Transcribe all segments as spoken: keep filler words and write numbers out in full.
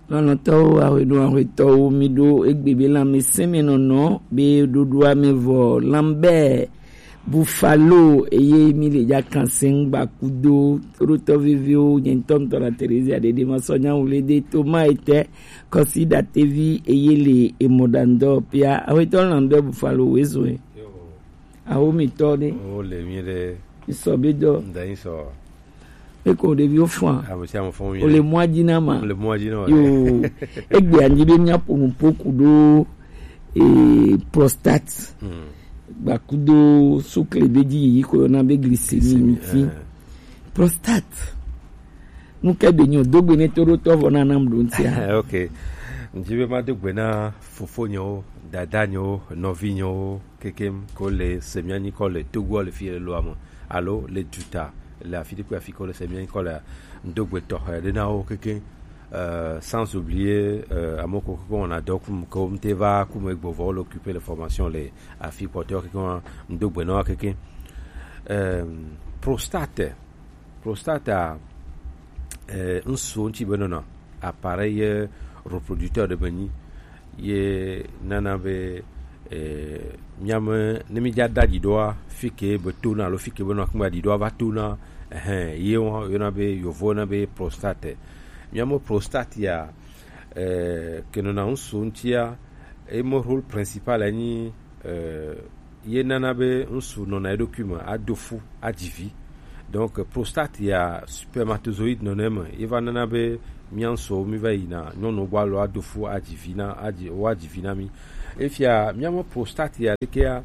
Lɔlɔ̃tɔwo, ahweɖo ahwetɔwo, mi ɖo egbe be lãmesẽ me nɔnɔ be ɖoɖoa me vɔ Lambert Buffalo eye mi le ja kan sẽŋ gba kudo toɖotɔ veviwo, nye ŋutɔ ŋutɔ la Terezia ɖeɖe ma sɔ nyawu le de Thomas ete kɔsi ɖatevi eye le emɔ ɖandɔ pia. Ahwetɔ Lambert Buffalo, wezɔe. Awo mi tɔ ɖe. O le mi ɖe. Ŋsɔ be dɔ. Nda ŋsɔ. Eko ɖeviwo fɔa. Ame sia ame fɔ mi. O le mɔa dzi na ma. Le mɔa dzi na. Yo. Egbe anyi be mia ƒo nu ƒo ku ɖo, eh, prostate. Hmm. Gbakudo sukle be dzi yi ko yɔna be glycémie. Glycémie, ŋuti. Eh. Prostate. Nu ke be nyo dogbe ne to ɖo tɔ vɔ na nam ɖo ŋutia. Ok. Ŋdi be ma dogbe na fofo nyewo, dada nyewo, nɔvi nyewo, kekem ko le se mia nyikɔ le Togo le fi le loa me, alo le duta le afi ɖe kple afi ko le se mia nyikɔ le, ŋdo gbe tɔxɛ ɖe na wo kekem. Euh, sans oublier, euh, ame ko kekem wɔna dɔ kum ke wo mte va kum egbɔ vɔ wo le occuper le formation le afi kpɔtɔ kekem, ŋdo gbe na wo kekem. Euh, prostate, prostate a, eh, ŋsu ŋuti be nɔna appareil reproducteur ɖe be nyi ye nana be, eh, miame ne mi dza da ɖiɖɔa, fi ke be tona alo fi ke be nɔ akungba ɖiɖɔa va tona, ehẽ, ye wo yɔna be, yovo yɔna be prostate. Miame prostate ya, eh, ke nɔna ŋsu ŋutia, eme rôle principal enyi, eh, ye nana be ŋsu nɔna eɖokui me ado fu adzi vi. Donc prostate ya spermatozoïde nɔnɔ eme, ye va nana be mia ŋsuwo mi va yina nyɔnuwo gbɔ alo ado fu adzi vi na, adzi, wo adzi vi na mi. Efia miame prostate ya ɖekea,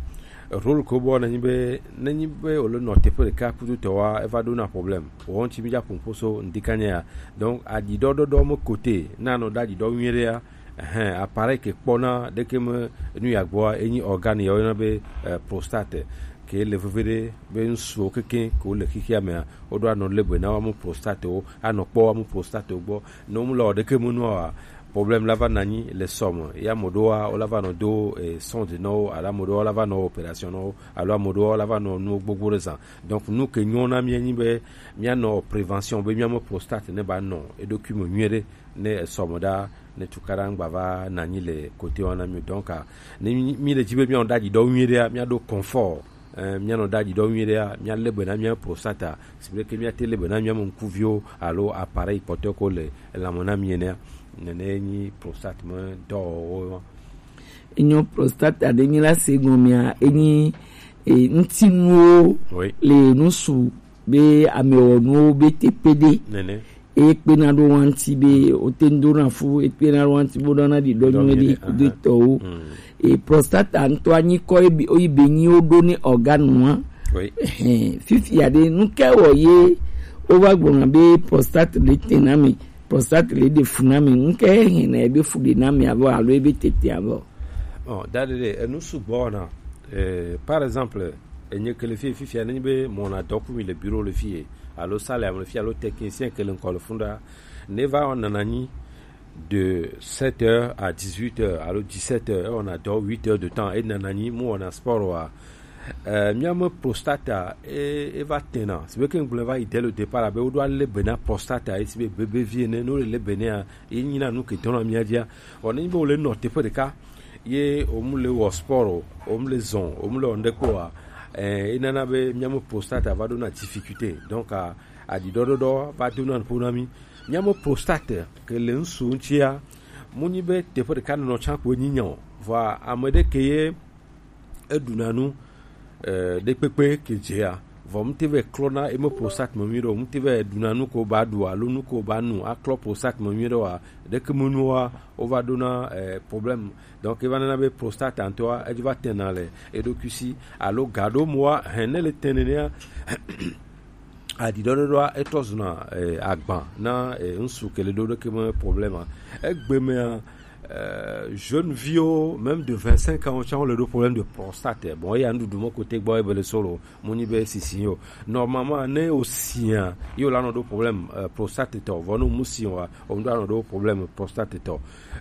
rôle ko bɔ nenyi be, nenyi be wole nɔ teƒe ɖeka kudo tɔwa, eva ɖona problème. Wo ŋuti mi dza ƒo ŋƒo so ŋdikanya ya. Donc aɖiɖɔɖɔɖɔ me côté na nɔ da aɖiɖɔ nyuie ɖea, ehẽ, appareil ke kpɔna ɖeke me nu ya gbɔa, enyi organe ya woyɔna be, eh, prostate. Ke le veve ɖe be ŋsuwo kekem ke wole xixia mea, woɖo anɔ le be na woame prostate wo, anɔ kpɔ woame prostate wo gbɔ. Ne womle wɔ ɖeke me nua, problème la va nɔ anyi le sɔ me. Ya ame ɖewoa, wola va nɔ do, eh, sonde na wo, alo ame ɖewoa la va nɔ opération na wo, alo ame ɖewoa la va nɔ nuwo gbogbo ɖe zã. Donc nu ke nyɔ na mía nyi be mía nɔ prévention be mía me prostate ne ba nɔ eɖokui me nyuie ɖe. Ne esɔ me ɖa, ne tukaɖa ŋgba va nɔ anyi le côté wa na mí o. Donc, ah, ne mí, mí le dzi be mía nɔ ɖe aɖi ɖɔ nyuie ɖea, mía ɖo confort. Eh, mía nɔ ɖe aɖi ɖɔ nyuie ɖea, mía lé be na mía prostate, si be ke mía te lé be na mía me ŋkuviwo alo appareil kpɔtɔe ko le elãme na mí enea. Nene nyi prostate me dɔwɔwɔ ma. Enyo prostate aɖe nyi la se gɔmea, enyi, e, ŋutinuwo Oui. le nusu be amewɔnuwo be teƒe ɖe. Nene. Eye kpena ɖo wa ŋuti be wote ŋu dona fu, ekpena ɖo wa ŋuti be woɖona ɖi ɖɔ Ɖɔ nyuie ɖi nyuie ɖe, kudo aha. tɔwo. Mm. E, prostata ŋutɔ anyi kɔ ebe, oyi be nyi woɖo ne organe wa. Oui. Ehɛn, fifia ɖe, nu ke wɔ ye wova gblɔna be prostate le te na me, prostate le ɖe fu na me, nu ke hɛn na ebe fu ɖe na me avɔ alo ebe tete avɔ? Bon, da ɖe ɖe, enu sugbɔ wɔna. Eh, par exemple, enye ke le fi, fifia, nenye be mɔ na dɔ ku mi le bureau le fi ye, alo salle ame le fi, alo technicien ke le ŋkɔ le funda, ne va wɔna na nyi de sept heures à dix-huit heures, alo dix-sept heures, ewɔna dɔ huit heures de temps, enana nyi, mu wɔna sport wa. Eh, mía me prostata, e, eva tena. Si be ke ŋgblẽ va yi dès le départ, abe woɖo alé be na prostata, esi be bébé vie ne, ne wole lé be nea, ye nyina nu ke dɔna mía dzia. Vɔ ne nyi be wole nɔ teƒe ɖeka, ye womle wɔ sport o, womle zɔn, womle wɔ ŋɖe kpɔ wa, eh, enana be mía me prostata va ɖona difficulté. Donc, a, aɖiɖɔɖɔɖɔ va dona ƒo na mí. Mía me prostate ke le ŋsu ŋutia, mu nyi be teƒe ɖeka nɔnɔ tsã ko nyi nya o. Vɔa ame ɖe ke ye eɖuna nu, eh, ɖekpekpe ke dzea, vɔ ŋute vɛ klɔna eme prostate me nyuie ɖe o, ŋute vɛ ɖuna nu ko ba ɖu alo nu ko ba nu aklɔ prostate me nyuie ɖe oa, ɖeke me nuwoa, wova ɖona, eh, problème. Donc, eva nana be prostate ŋutɔa, edzi va tena le eɖokui si, alo ga ɖewo me wa, hɛn ne le te nenea, aɖiɖɔɖɔɖɔa etɔ zuna, eh, agban na, eh, ŋsu ke le ɖo ɖeke me problème. Egbe mea, eh, jeune viwo, même de vingt-cinq ans, tsã wole ɖo problème de prostate. Bon, eya nuɖuɖu me kote gbɔ ebe le solo, mu nyi be sisi o. Normalement, ne o sia, yo la nɔ ɖo problème, eh, prostate tɔ. Vɔ ne o mu si wa, o ŋdo anɔ ɖo problème prostate tɔ.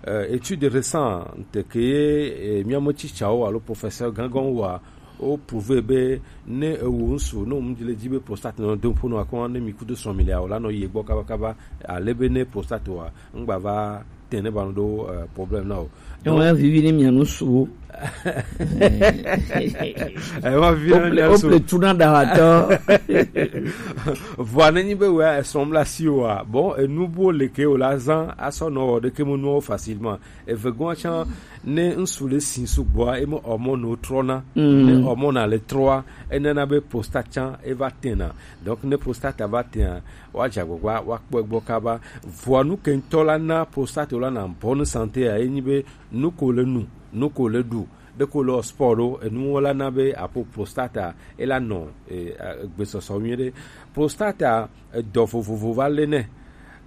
Eh, étude récente ke ye, eh, mía me tsitsawo alo professeur gãgãwo wa, wo prouver be ne ewu ŋsu, ne wo mu le dzi be prostate nɔ do ƒo nɔ akɔ ne mi kudo srɔ̃ mi le o la nɔ yi gbɔ kabakaba, ale be ne prostate wa, ŋgba va tɛnɛ ba no do eh, problème na o. Ewɔn ya vivi ni mia nu suwo. Ewɔn vivi ni mia nu suwo. Ople tuna da wa tɔ. Vɔa ne nyi be wea esrɔ̃m la si oa, bon, enu bo le ke o la zan asɔ nɔ wɔ ɖeke mo nuwo facilement. Eve gɔn tsan ne ŋsu le si sugbɔa, eme hormone trɔna. Ne hormone le trɔa, enana be prostate tsan eva tena. Donc ne prostate va tena, wa dza gbagba wa kpɔ gbɔ kaba. Vɔa nu ke ŋtɔ la na prostate la na bonne santé a, enyi be nu ko le nu, nu ko le ɖu, ɖe ko le sport ɖo, enuwo la na be apo prostate e la nɔ eh, gbesɔsɔ nyuie ɖe. Prostate edɔ vovovo va le nɛ.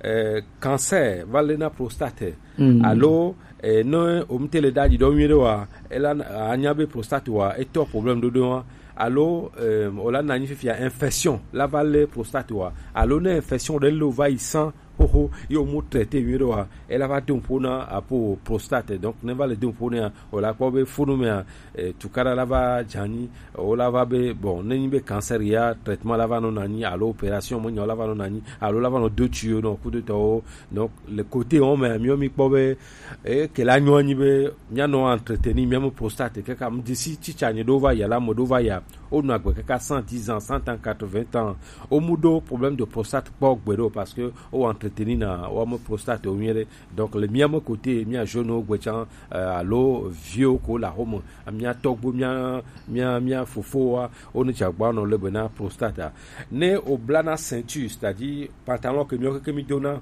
Eh, cancer va le na prostate. Alo eh, ne omte le ɖaɖi ɖɔ nyuie ɖe wa, ela anya be prostate wa etɔ problème ɖoɖo wa. Alo eh, o la na nyi fifia infection la va le prostate wa. Alo ne infection ɖe le va yi san xoxo, ye wo mu traité nyuie ɖe wa, ela va do ƒo na apo prostate. Donc ne va le do ƒo na, o la kpɔ be funu mea eh, tukaɖa la va dze anyi, o la va be, bon, ne nyi be cancer ya, traitement la va nɔ na anyi, alo opération me nya la va nɔ na anyi, alo la va nɔ do tuyau nɔ kudotɔwo. Donc le côté wo me, miwo mi kpɔ be eh, ke la nyo anyi be mia nɔ entretenir mia me prostate kaka. M disi tsitsa nyi ɖo va ya, la me ɖo va ya, o nɔ agbe kaka cent dix ans, cent ans, quatre-vingts ans, o mu ɖo problème de prostate kpɔ gbe ɖo, parce que o entretenir na wa me prostate o nyuie ɖe. Donc le mia me côté mia jeune wo gbe tsan eh, alo viwo ko la home, mia tɔgbo, mia mia mia fofowa, o ne dza gba nɔ le be na prostate. Ne o bla na ceinture, c'est-à-dire pantalon ke mia ke mi dona,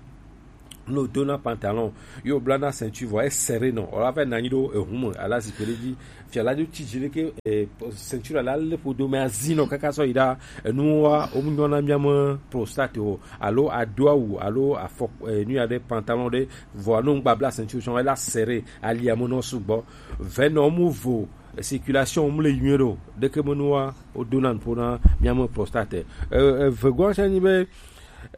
no dona pantalon, yo bla na ceinture vɔ e serré nɔ, o la va na nyi ɖo ehun me ala zikpui ɖe dzi. Fia la do tsi dzi ɖe ke eh, ceinture la le ƒodo me azi nɔ kaka sɔ yi ɖa. Enuwa o mu nyɔna mia me prostate o, alo ado awu alo afɔ eh, nu ya ɖe pantalon ɖe, vɔa no ŋgba bla ceinture sɔn ela serré, ali ame nɔ sugbɔ. Vɛ nɔ mu vo circulation mu le nyuie ɖo, ɖeke me nua o dona ƒo na mia me prostate. Eh, eh, vegɔa sɛ nyi be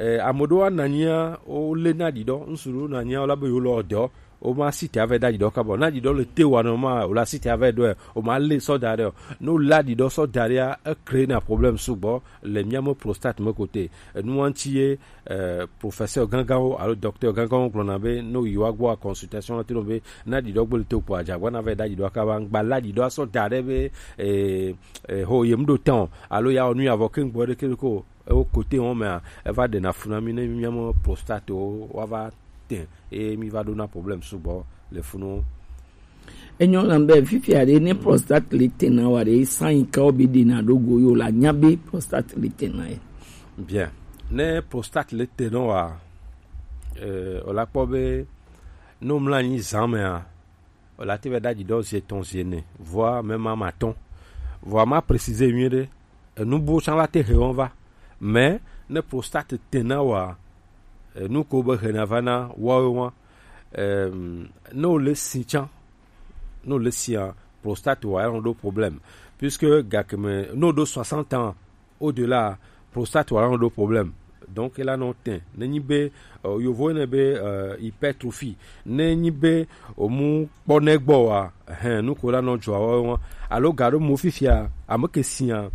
eh, ame ɖewo ananyia o le na ɖiɖɔ, ŋsu ɖewo nanyia o la be yo le ɔdɔ, o ma si te ave da ɖiɖɔ kabɔ na ɖiɖɔ le te wa nɔ ma o la si te ave ɖɔe, o ma le sɔ da ɖe o. No la ɖiɖɔ sɔ da ɖea, e crée na problème sugbɔ le mia me prostate me côté. Enuwa ŋuti ye eh, professeur ganganwo alo docteur ganganwo gblɔna be ne yi wa gbɔ consultation te no be na ɖiɖɔ gbele to kpo adza gbɔ na ve da ɖiɖɔ kaba ŋgba la ɖiɖɔ asɔ da ɖe be eh, eh, ho yem ɖo tɔn alo ya onu ya vɔ ke ŋgbɔ ɖe ke ko ewo kote wɔn mea eva ɖe na funa mi ne mi mia me prostate wo wa va te e mi va ɖo na problème sugbɔ le funu. Enyo lambe fifia ɖe ne prostate le tena wa ɖe sanyi kawo be ɖe na ɖo go yo la nya be prostate le tena ye. Bien. Ne prostate le tena wa eh, o la kpɔ be no mla nyi zan mea o la te ve da ɖiɖɔ zi etɔn zi ene voa mɛ ma ma tɔn voa ma préciser nyuie ɖe enu bo san la te he wɔn va. Mais ne prostate tena wa enu ko be hena va na wawe wa. Ne wòle si tsã, ne wòle sia, prostate wa ya nɔ ɖo problème, puisque gake me ne wòɖo soixante ans au delà, prostate wa ya nɔ ɖo problème. Donc ela nɔ tɛ ne nyi be yovo ne be hypertrophie, ne nyi be omu kpɔ ne gbɔ wa, hɛn, nuko la nɔ dzɔ wa wa alo ga ɖo mo fifia ame ke sia,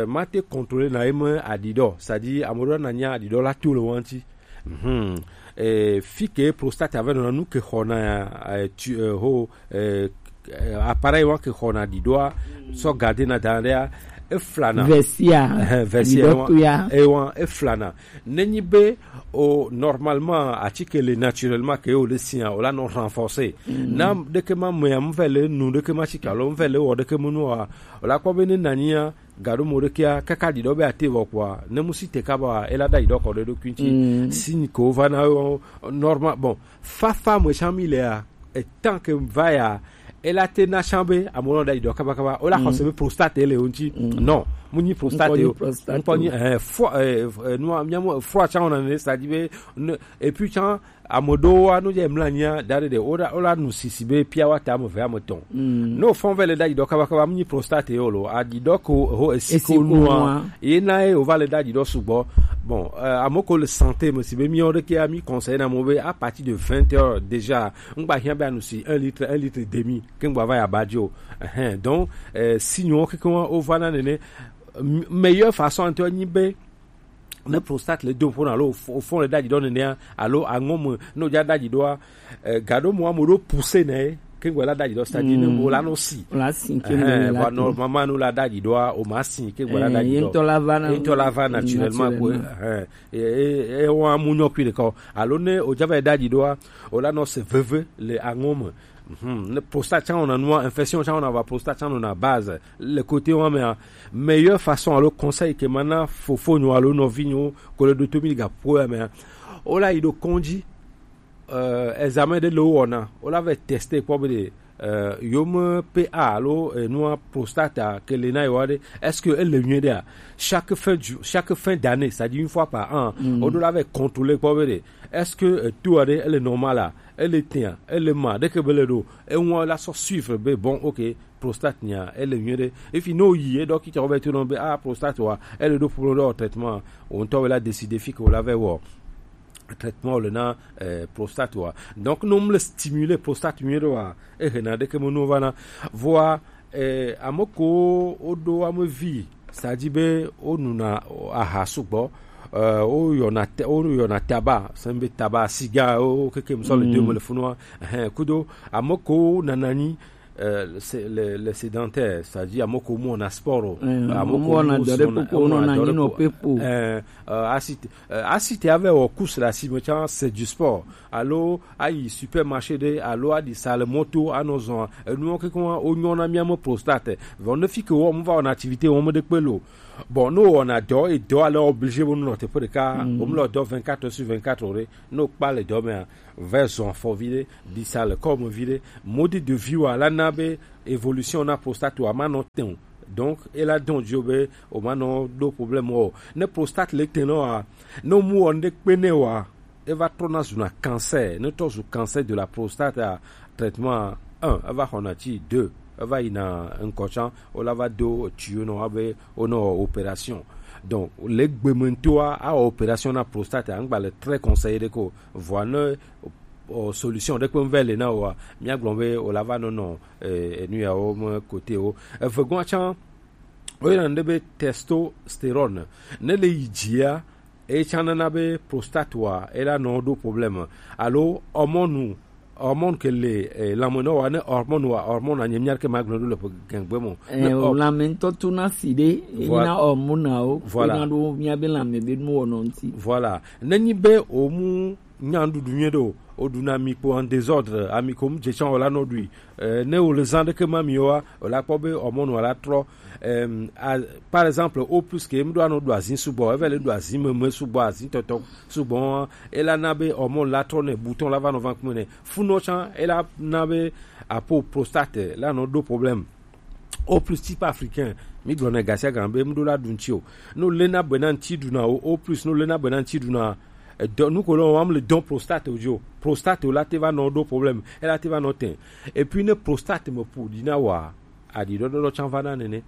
mate contrôler na eme aɖi ɖɔ, c'est-à-dire ame ɖo na nya aɖi ɖɔ la to le wa ŋuti. Mhm. Eh, fi ke prostate ave nɔna nu ke xɔna eh, tu, eh, ho eh, eh, appareil wa ke xɔna ɖiɖoa sɔ garder na da ɖea eflana. Vesia. Eh, vesia wa. Ɖiɖɔ to ya. Eh, wa eflana. Nenyi be o normalement atike le naturellement ke o le sia o la nɔ renforcer. Mm. Na ɖeke ma mea mve le nu ɖeke ma tsika lo mve le wɔ ɖeke mu nu wa o la kpɔ be ne nanyia gaɖo mo ɖekea kaka ɖiɖɔ be ate vɔ kpoa ne mu si te kaba ela da ɖiɖɔ kɔ ɖe ɖokui ŋuti. Mm. Signe ko va na yo normal. Bon, fafa me tsã mi lea etan ke va ya ela te na tsã be amewo nɔ da ɖiɖɔ kaba kaba o la xɔse be prostate le wo ŋuti. Mm. Non, mu nyi prostate o. Ŋkɔ nyi eh fo eh nua miamu fo tsã wona ne sa di be et puis tsã ame ɖewo wa no dze mla nyia da ɖe ɖe o la o la nu sisi be pia wa ta ame ve ame tɔn. Mm. No fɔn ve le da ɖiɖɔ kaba kaba mu nyi prostate yo lo aɖiɖɔ ko ho esiko nua ye na ye o va le da ɖiɖɔ sugbɔ. Bon, eh, ame ko le santé me si be mi o ɖeke mi conseil na mo be à partir de vingt heures déjà ngba hiã be anu si un litre, un litre et demi ke ngba va ya ba dzo. Ehɛn, donc eh, signe wo keke wa o va na nene. M- meilleure façon ŋutɔ nyi be Ne prostate le do ƒona alo fo- fɔn le ɖaɖi ɖɔ nenea alo aŋɔ me ne wodza ɖaɖi ɖɔa, eh, gaɖo mo amo ɖo pousse ne ke ŋgɔ la ɖaɖi ɖɔ, c'est-à-dire ne mo la no si. La sin ke Eh, mo va la no mama no la ɖaɖi ɖɔa o ma si ke ŋgɔ la Eh, ɖaɖi ye ɖɔ. ŋutɔ la va na- Ye ŋutɔ la va naturellement ko. naturellement. Eh, eh, eh, wa mu nyɔ kui ɖeka o. Alo ne o dza va ɖaɖi ɖɔa o la no se veve le aŋɔ me. Mhm. Ne prostate tsã wɔna nua, infection tsã wɔna va prostate tsã nɔna base le côté wa mea, meilleure façon alo conseil ke mana fofonyo alo nɔvinyo ko le ɖoto mi ga ƒoa mea, o la yi ɖo kɔndzi, euh, examen ɖe le wo wɔna, o la va teste kpɔ be ɖe, euh, yome P A alo, euh, nua prostate ke le na yewa ɖe, est-ce que ele nyuie ɖea? Chaque fin du, chaque fin d'année, c'est-à-dire une fois par an, o ɖo la va contrôler kpɔ be ɖe, est-ce que, euh, tout aɖe ele normal a? Ele tea, ele ma ɖeke be le ɖo. Eŋua la sɔ suivre be bon, ok, prostate nya ele nyuie ɖe. Efi no yi e ɖɔkita wo be to no be ah prostate wa ele ɖo problème ɖe traitement. O ŋutɔ la décider fi ke o la va wɔ traitement le na, eh, prostate wa. Donc no mle stimuler prostate nyuie ɖe wa, e hena ɖeke me no va na. Voa, eh, ame ko o ɖo ame vi, c'est-à-dire be o nuna aha sugbɔ, euh, o yɔna te- o yɔna taba, c'est be taba, siga o keke me sɔ le de me le funua. Hein, kudo ame ko nanani, euh, c'est le, le sédentaire, c'est-à-dire ame ko mo na sport o. Eh, Ame mo ko na mo dɔ ɖe sɔna- kpokpo, mo nɔ na nanyi dɔ ɖe nɔ kpokpo. pepo. Eh, euh, asite, euh, asite ave wɔ course la si me tsã, c'est du sport. Alo ayi supermarché ɖe, alo aɖi sa le mɔto anɔ zɔn. Enuwo keke wa o nyɔna mia me prostate. Vɔ ne fi ke wɔ mo va wɔna activité wɔ me ɖe kpe lo. Bon, no wɔna dɔ e dɔ ale obligé bo nɔ teƒe ɖeka. O mlɔ dɔ vingt-quatre sur vingt-quatre ɖe. No kpa le dɔ mea, va zɔn afɔ vi ɖe, ɖi sa le kɔ me vi ɖe. Mode de vie wa la na be évolution na prostate wa ma nɔ te o. Donc e la dɔn dio be o ma nɔ ɖo problème o. Ne prostate le te nɔ wa, ne mu wɔ ne kpe ne wa, e va trɔna zuna cancer. Ne trɔ zu cancer de la prostate a, traitement un, e va xɔna ti deux, e va yina ŋkɔ tsã, o la va do tuyau nɔ wa be o nɔ opération. Donc le gbeme ŋutɔa a wɔ opération na prostate a, ŋgba le très conseillé ɖe ko. Voa ne o solution ɖe kpe ŋvɛ le na wa, mia gblɔ be o la va nɔ nɔ, eh, enu yawo me côté o. Eve gɔn tsã o yina ɖe be testostérone. Ne le yi dzia, e tsã nana be prostate wa e la nɔ ɖo problème. Alo hormone, hormone ke le, eh, lãme nɔ wa, ne hormone wa, hormone anye mia ke ma gblɔ ɖo le ƒe gɛngbe mo. Eh, o lãme ŋutɔ tona si ɖe, e Voilà. na hormone wo, Voilà. e na ɖo mia be lãme be nu wɔnɔ ŋuti. Voilà. Ne nyi be o mu nya nuɖuɖu nyuie ɖe o, o ɖuna mi kpo en désordre, ami ko mu dze tsã o la nɔ ɖui. Eh, ne o le zã ɖeke ma mi wa, o la kpɔ be hormone wa la trɔ. Em, a, par exemple, o plus ke mu ɖo anɔ ɖu azin sugbɔ, eve le ɖu azin meme sugbɔ, azin tɔtɔ sugbɔ, e la na be hormone la trɔ ne bouton la va nɔ va kume ne. Funɔ tsã, e la na be apo prostate la nɔ ɖo problème. O plus type africain, mi gblɔ ne gasia gan be mu ɖo la ɖu ŋuti o. No le na be na ŋuti ɖuna o, o plus no le na be na ŋuti ɖuna. Edɔ, nu ko lɔ wam le dɔn prostate o dzo. Prostate o la te va nɔ ɖo problème. E la te va nɔ te. Et puis ne prostate me ƒo ɖi na wa, aɖi ɖɔɖɔ tsã va na nene.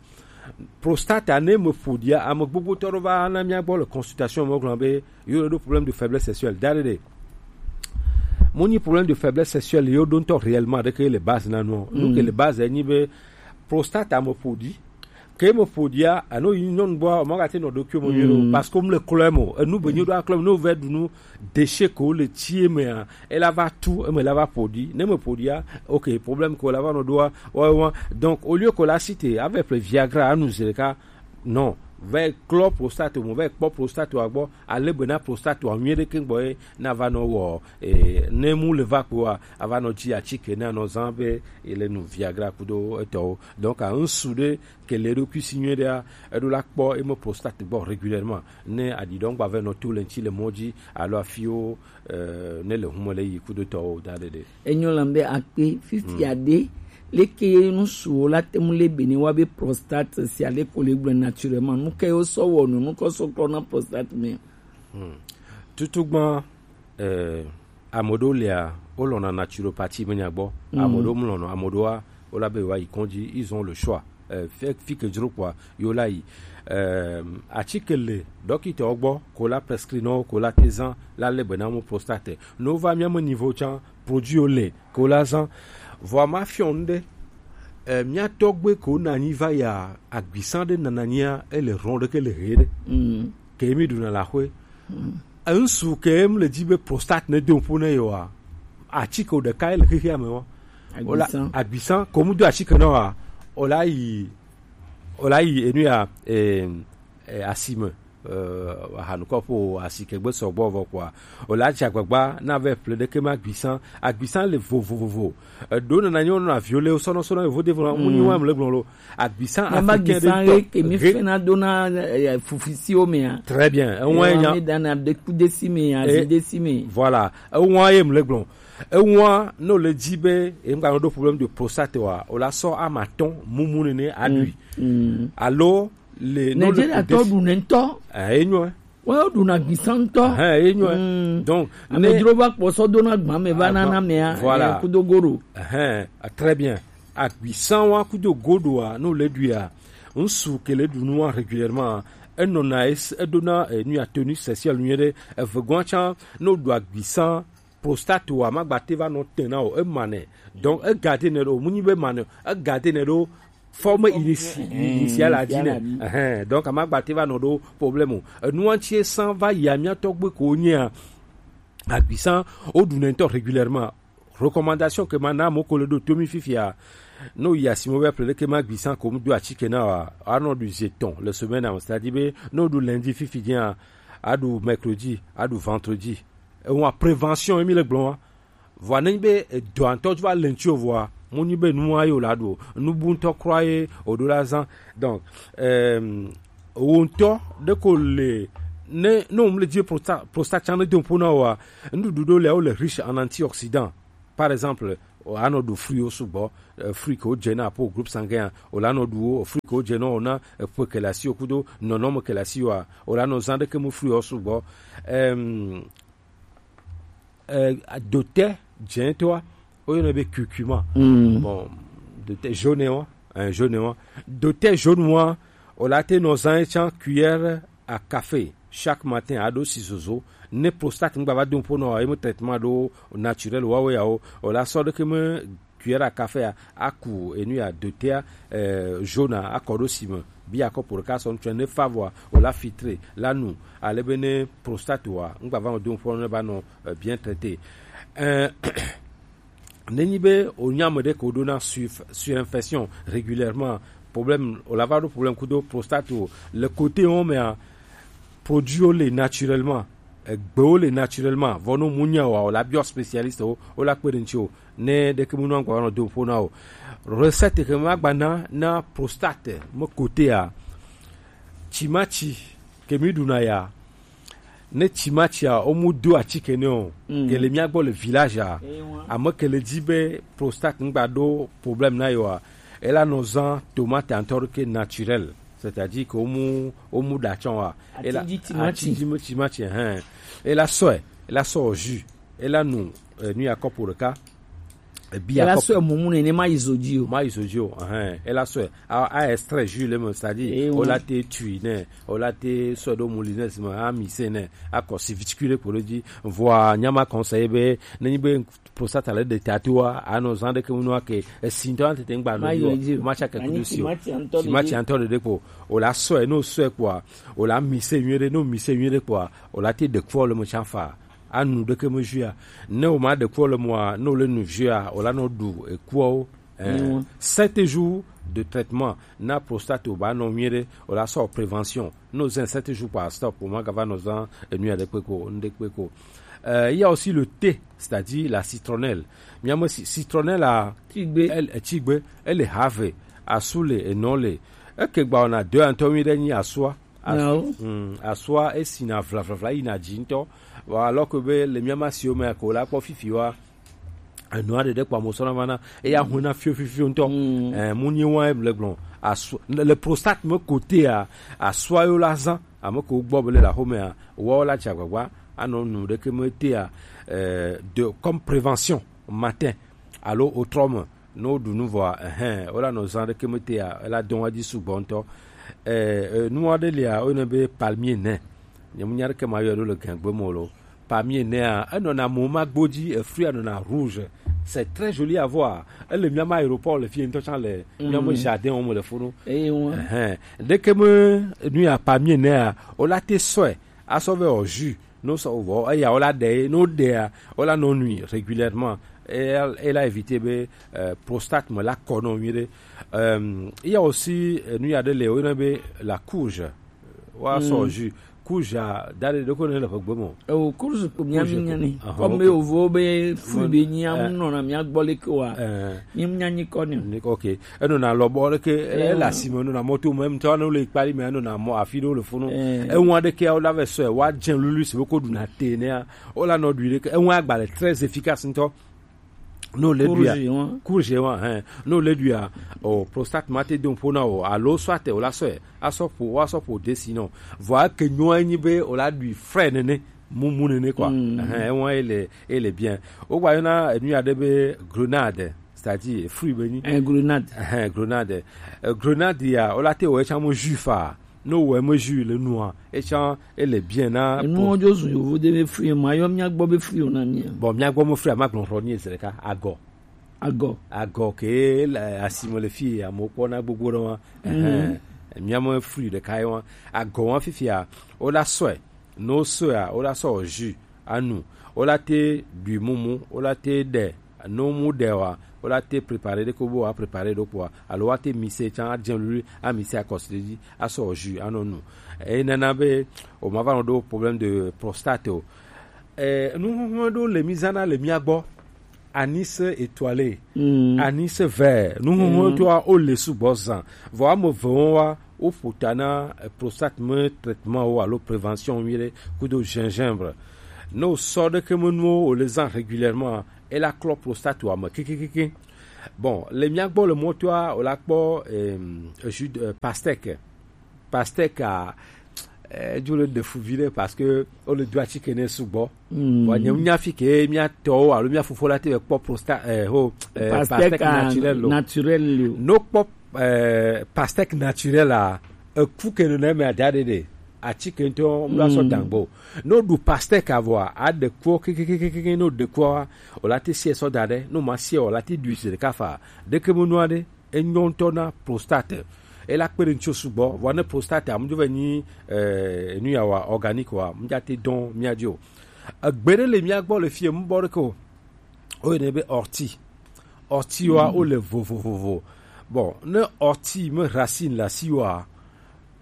Prostate a ne me ƒo ɖia, ame gbogbo tɔ ɖo va na mia gbɔ le consultation me gblɔ be yo le ɖo problème de faiblesse sexuelle. Da ɖe ɖe. Mo nyi problème de faiblesse sexuelle yo ɖo ŋutɔ réellement ɖeke le base na nua. Nu ke le base nyi be prostate a me ƒo ɖi. Ke me ƒo ɖia, eno yi nyɔnu gbɔ, o ma gate nɔ ɖokuiwo me nyuie ɖo, parce que o mle klɔe mo. Enu be nyi ɖo aklɔ me, ne o vɛ ɖu nu, déchet ko le tie mea, e la va tu, eme la va ƒo ɖi. Ne me ƒo ɖia, ok, problème ko la va nɔ ɖoa, wa, wa. Donc, au lieu ko la cité, avec le Viagra, anu zi ɖeka, non, va klɔ prostate mo, va kpɔ prostate wa gbɔ, ale be na prostate wa nyuie ɖeke gbɔ ye, na va nɔ wɔ, eh, ne mu le va kpoa, a va nɔ dzi atike na nɔ zã be, ele nu Viagra kudo etɔwo. Donc, a ŋsu ɖe ke le eɖokui si nyuie ɖea, eɖo la kpɔ eme prostate gbɔ régulièrement. Ne aɖiɖɔ ŋgba vɛ nɔ to le ŋuti le mɔ dzi alo afiwo, eh, ne le hume le yi kudotɔwo da ɖe ɖe. Enyo lam be akpe fifi aɖe leke ye nusuwo la te ŋu le be ne wa be prostate si ale ko le gblɔ naturellement. Nu ke yo sɔ wɔ nu, nu kɔ sɔ klɔ na prostate me. Tutugba, eh, ame ɖewo lia, wolɔ̃na naturopathie me nya gbɔ. Ame ɖewo mlɔnɔ, ame ɖewoa, wola be yewoayi kɔdzi, ils ont le choix. Eh, fi, fi ke dzro kpɔa, yo la yi. Eh, atike le ɖɔkitɔwo gbɔ, ko la prescrit nɔ, ko la te zã, la le be na mo prostate. No va mia me niveau tsã, produit wo le, ko la zã. Vɔa ma fiɔ nu ɖe, eh, mia tɔgbe ko na nyi va ya, agbisa ɖe nana nyia, ele rɔn ɖe ke le he ɖe. ke mi ɖuna le axwe. Ŋsu ke mu le dzi be prostate ne do ƒo ne yewoa, atike ɖeka ye le xexea me wa. Wala agbisan, ko mu do atike na wa, wala yi, wala yi enu ya, eh, eh, asime, eh, ahanukɔ ƒo asi ke gbe sɔgbɔ vɔ kɔa, wala dze agbagba na ve ple ɖeke ma agbisan. Agbisan le vovovovo. Eɖo nana nyo na viole sɔnɔ sɔnɔ vodevo na mu nyi wa mle gblɔ lo. Agbisan africain ɖe tɔ ke mi fena do na, eh, fufisiwo mea. Très bien. Ewa nya mi dana de kudesi me, azidesi me. Voilà. Ewa ye mle gblɔ. Ewa no le dzi be e ŋgba ɖo problème de prostate wa, o la sɔ ama tɔn mumu nene aɖui. Alo le no le nigeria tɔ ɖu ne ŋutɔ. Eh, enyo. Wo ɖuna gbisa ŋutɔ. Eh, enyo. Donc amedzro va kpɔ sɔ do na gbame va nana mea. Voilà. Kudo goro. Eh, très bien. Agbisan wa kudo godoa no le ɖuia, ŋsu ke le ɖu nua régulièrement, enɔna es-, eɖona, eh, nu ya tenue sexuelle nyuie ɖe. Evegɔa tsã, no ɖu agbisan, prostate wa magbate va nɔ te na o, ema nɛ. Donc egade nɛ ɖo, mu nyi be ema nɛ, egade nɛ ɖo forme initi-, initiale a dzi nɛ. Ɛhɛn, donc amagbate va nɔ ɖo problème o. Enua ŋuti san va yi amia tɔgbe ko nyea, agbisan o ɖu nɛ ŋutɔ régulièrement. Recommandation ke ma na mo ko le ɖo to mi fifia. No yi asimo be ple ke ma agbisan ko mu do atike na wa. Anɔ ɖu zi etɔn le semaine a, c'est-à-dire be no ɖu lundi fifi dzi a, aɖu mercredi, aɖu vendredi. Ewa prévention emi le gblɔ wa. Vɔa ne nyi be edɔa ŋutɔ va le ŋuti o vɔa, mu nyi be nua ye o la ɖu o. Nu bu ŋutɔ kura ye o ɖo la zan. Donc, euh, wo ŋutɔ ɖe ko le ne, ne wo mu le dzi prosta-, prostate tsã ne do ƒo na wa, nuɖuɖu ɖo le wo le riche en antioxydant. Par exemple, o anɔ ɖu fruit wo sugbɔ, eh, fruit ke wo dze na po groupe sanguin, o la nɔ ɖu wo, fruit ke wo dze na o na, eh, ƒe ke le asi o kudo nɔnɔme ke le asi wa, o la nɔ zan ɖeke mu fruit wo sugbɔ. Em, eh, dote dzẽtɔa, woyɔnɛ be curcuma. Bon, dote jaune wa, eh, jaune wa. Dote jaune wa, o la te nɔ zan tsã cuillère à café chaque matin, aɖo si zozo. Ne prostate ŋgba va do ƒo nɔ, eme traitement ɖo naturel wa wo ya wo, o la sɔ ɖeke me cuillère à café a, aku enu ya dotea, eh, jaune a, akɔ ɖo si me. Bi akɔ po ɖeka sɔ ŋutsɔ ne fa vɔa, o la filtre, la nu, ale be ne prostate wa, ŋgba va do ƒo ne va nɔ, eh, bien traité. Eh, ne nyi be o nya me ɖe ko ɖo na sur-, surinfection régulièrement, problème, o la va ɖo problème kudo prostate o. Le côté wo mea, produit wo le naturellement, egbewo le naturellement, vɔ no mu nya wa, o la biɔ spécialiste wo, o la kpe ɖe ŋuti o. Ne ɖeke mu nɔ agba nɔ do ƒo na o. Recette ke ma gba na, na prostate me côté a, timatsi ke mi ɖuna ya, ne timatsia wo mu do atike ne o, ke le mia gbɔ le village a, ame ke le dzi be prostate ŋgba ɖo problème na yo a, e la nɔ zan tomate ŋutɔ ɖe ke naturel, c'est-à-dire que wo mu, wo mu ɖa tsɔ wa, e la atidzi timatsi, hɛn, e la sɔe, e la sɔ jus, e la nu, eh, nu ya kɔpo ɖeka. Ebi ela akɔpo. Sɔe mumu nene ma yi zo dzi o. Ma yi zo dzi o, ɛhɛn. Ela sɔe a, a extrait jus le me, c'est-à-dire, eh, o la te tui ne, o la te sɔe ɖo moulineuse me, a mise ne, a kɔ si vitikui ɖe kpo ɖe dzi. Vɔa, nyama conseil be, ne nyi be prostate le ɖe ta to wa, a nɔ zan ɖe ke mu nua ke, esi ŋutɔ a tete ŋgba nɔ dzi o. Ma tsa ke kudo si o. Timati ŋutɔ ɖe kpo. O la sɔe, no sɔe kpoa, o la mise nyuie ɖe, no mise nyuie ɖe kpoa, o la te ɖe kufɔ le me tsa fa. Anu ɖeke me jus a. Ne o ma ɖe kuɔ le mɔa, ne o le nu jus a, o la nɔ ɖu ekuɔwo. Eh, sept jours de traitement na prostate o ba nɔ nyuie ɖe, o la sɔ prévention. Ne o zɛn sept jours kpa stop, o ma gava nɔ zan enu ya ɖe kpe ko, nu ɖe kpe ko. Euh, il y a aussi le thé, c'est-à-dire la citronnelle. Miame si-, citronnelle a, tigbe. Elle, eh, tigbe, elle est have. Asu le, enɔ le. Eke gba ona de antɔ mi ɖe nyi asua. Asu-, mm, asua esina vlavlavla yina dzi ŋutɔ. Vɔ, alors que be le mía ma siwo mea ko la kpɔ fifi wa, enua ɖeɖe kpɔ amo sɔna vana, eya hu na fio fifio ŋutɔ. Mm. Eh, mu nyi wa em le gblɔ. Asu-, le, le prostate me kotea, asua yo la zan, ame ko gbɔ be le la xomea, wa la tsa gbagba, anɔ nu ɖeke me tea, eh, de, comme prévention, matin, alo autrement. Ne woɖu nu vɔa, ɛhɛn, wola nɔ zã ɖeke metea, ela dɔn edzi sugbɔ ŋutɔ. Ɛ, ɛ, nu aɖe lia, woyɔnɛ be palmier nɛ. Nye mu nya ɖeke ma yɔe ɖo le gɛngbe me o lo. Palmier nɛa, enɔna mo ma gbo dzi, efruit anɔna rouge. C'est très joli à voir. Ele miama aéroport le fie ŋutɔ tsã le miama jardin wo me le funu. Eye ŋu. Ehɛn. Ɖeke me nu ya pa mie nea, o la te sɔe asɔ ve o jus. No sɔ vɔ eya o la ɖe, no ɖea, o la nɔ nui régulièrement. Et elle, elle a évité be euh, prostate me la kɔ nɔ nyuie ɖe. Euh, il y a aussi euh, nu ya ɖe le o yɔna be la courge. Wa sɔ jus. Kuja da ɖe ɖeko ne le ƒegbe me o. Ewo kurzu ko mia mi nya ni. Aha, comme ok. Ewo vo be fruit be nyi amu nɔ na mia gbɔ le ke wa. Eh. Mi nya nyi kɔ ni. Ni, ok. Eno na lɔ bɔ ɖeke, eh, eh, la si me no na moto me mtɔ no le kpali me no na mo afi do le funu. Eh. Ewa ɖeke o la ve sɔ wa jen lulu se ko du na te ne a. O la no du ɖeke. Ewa agba le très efficace ntɔ. No le ɖuia. Courge wa. Courge wa, hein. No le ɖuia. O prostate ma te don pona o. Alo soit o la sɔ. Asɔ po, wa sɔ po desi no. Vɔ ke nyo anyi be o la ɖui frais nene. Mumu nene quoi. Hein, ewa ele, ele bien. O gba yona nu ya de be grenade, c'est-à-dire fruit be ni. Un grenade. Hein, grenade. Euh, grenade ya, o la te o e chamo jus fa. No wɔ eme jus le nua, etsã ele bien na. Enu po- wo dzo zu yovo de be fri ma yɔ mia gbɔ be fri o na mia. Bon, mia gbɔ mo fri ma gblɔ xɔ ni ezre ka agɔ. Agɔ. Agɔ ke le asime le fi amewo kpɔna gbogbo ɖe wa. Mia me fri ɖeka ye wa. Agɔ wa fifia, o la sɔe. No sɔe a, o la sɔ jus anu. O la te ɖui mumu, o la te ɖe. No mu ɖe wa, o la te préparer ɖe ko bo wa préparer ɖo kpoa, alo wa te mise tsã adze lulu, a mise akɔsi ɖe dzi, asɔ jus anɔ nu. Eye nana be o ma va nɔ ɖo problème de prostate o. Eh, nu huhun ɖo le mi zana le mia gbɔ. Anis étoilé, anis vert, nu huhun to a o le sugbɔ zan. Vɔ ame ve wo wa, o ƒo ta na eh, prostate me traitement wo alo prévention mi ɖe kudo gingembre. Ne o sɔ ɖeke me nuwo o le zan régulièrement, e la klɔ prostate wa me kekekeke. Bon, le mia gbɔ le mɔtoa o la kpɔ eh, jus de eh, pastèque. Pastèque a eh, edzo le ɖe fu vi ɖe parce que o le do atike ne sugbɔ. Wa nye nya fi ke mia tɔwo alo mia fofo la te be kpɔ prostate eh, ho eh, pastèque naturel lo. Naturel lo. No kpɔ eh, pastèque naturel a eku ke no na me ada ɖe ɖe atike ŋutɔ mu la sɔ dangbo. No ɖu pastèque avɔ a ɖe kuɔ kekekeke no ɖe kuɔ o la te sie sɔ da ɖe no ma sie o la te ɖui se ɖeka fa ɖeke mo nua ɖe. Enyɔ ŋutɔ na prostate. Ela kpe ɖe ŋutsu sugbɔ vɔ ne prostate amudzo vɛ nyi eh, nu ya wa organique wa mudza te dɔn mia dzi o. Egbe ɖe le mia gbɔ le fie mubɔ ɖeke o. O yene be ortie. Ortie wa o le vovovovo. Bon, ne ortie me racine la si wa,